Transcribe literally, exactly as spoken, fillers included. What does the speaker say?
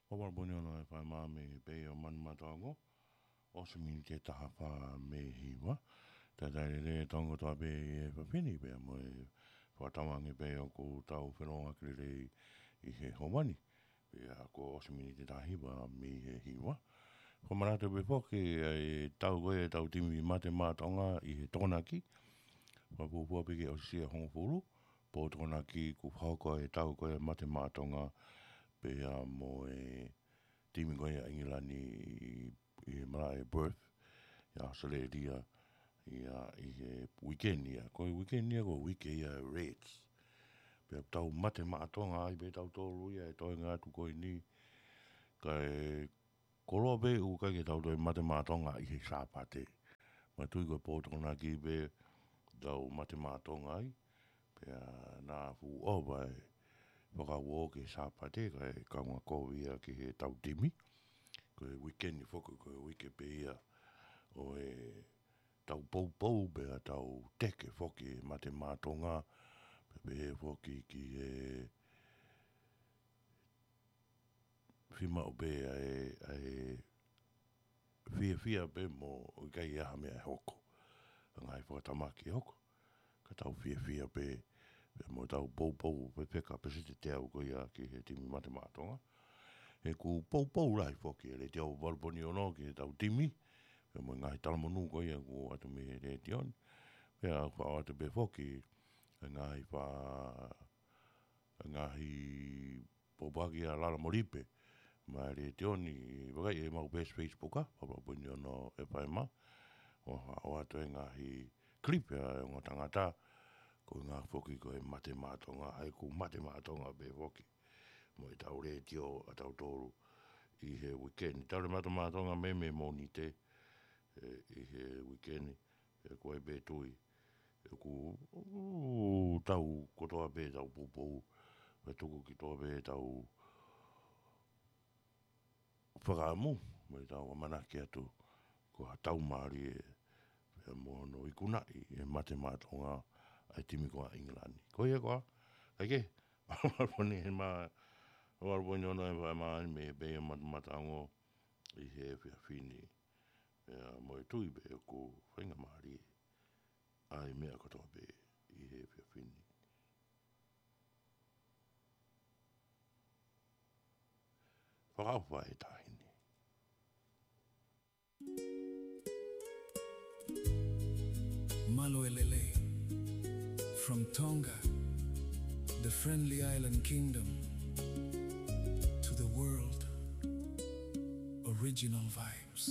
Ko Valpone ono e fai mā mei he pei ʻo Manumataongo, ʻosi miniti ʻe taha fā mei he hiva. Talitali lelei e tau kotoa pē ʻi he efiafi ni pea mo e fakatauange pē ʻoku tau felōngoaki lelei ʻi he ʻaho ni. Pea kuo ʻosi miniti ʻe taha hiva mei he hiva. Fakamanatu pē foki ʻa e tau ko ē ʻa e tau timi Mate Maʻa Tonga ʻi he Tokonaki. Fakafuofua pē ke ʻosi ʻa e hongofulu, pō Tokonaki kuo fakahoko e tau ko ē ʻa e Mate Maʻa Tonga pea mo e timi ko ē ʻa ʻIngilani ʻi, ʻi he malaʻe Perth, ʻi ʻAositelēlia, ʻi he uike ni ia. Ko e uike ni ia, ko e uike ia ʻa e Reds. Pea tau Mate Maʻa Tonga ai pē tautolu ia he toenga atu ko eni. Kae koloa pē ʻoku ʻikai ke tau toe Mate Maʻa Tonga ʻi he Sāpate. Manatuʻi ko e pō Tokonaki pē tau Mate Maʻa Tonga ai. Pea naʻa fuʻu ʻova e fakauō ki he Sāpate kae kaungā kovi ia ki he tau timi. Ko e uike ni foki, ko e uike pē ia ʻo e tau poupou pea tau teke foki e Mate Maʻa Tonga. Pea pehē foki ki he fiemaʻu pē ʻa e, ʻa e fiefia pē mo ʻikai ha meʻa ʻe hoko. ʻA e ngaahi fakatamaki ʻe hoko. Ka tau fiefia pē, pea mo tau poupou pē fekauʻaki pē siʻi te tau ko ia ki he timi Mate Maʻa Tonga. He kuo poupou lahi foki e Letiō Valpone ono ki he tau timi, pea mo e ngaahi talamonū ko ia kuo ʻoatu mei he Letiō ni. Pea ʻoku ʻoatu pē foki e ngaahi fa-, e ngaahi pōpoaki ʻa Lala Molipe maʻa e Letiō ni, vakai ʻemau peesi Facebook ʻa Valpone ono FM. ʻOku ʻoatu e ngaahi clip ʻa e ongo tangata, ko e ngaahi foki ko e Mate Maʻa Tonga, ʻa ia kuo Mate Maʻa Tonga pē foki mo e tau Letiō ʻa tautolu ʻi he uike ni. Tau le Mate Maʻa Tonga mei, mei Mōnite, ē, ʻi he uike ni. Pea ko e pē tui ʻoku, ʻoku tau kotoa pē tau poupou, pea tuku ki tuʻa pē tau fakaʻamu, mo e tau ʻamanaki atu ko ha tau mālie pea mo hono ikunaʻi e Mate Maʻa Tonga ʻa e timi ko ē ʻa ʻIngilani. Ko ia koā, kae kehe, Valpone ni he mā, Valpone ni ono e fai mā ni mei he pei ʻo Mate Maʻa Tonga ʻi he efiafi ni. Pea mo e tui pē ʻoku faingamālie ʻa e meʻa kotoa pē ʻi he efiafi ni. Fakaʻofa e taʻahine. Mālō e lelei. From Tonga, the friendly island kingdom, to the world, original vibes.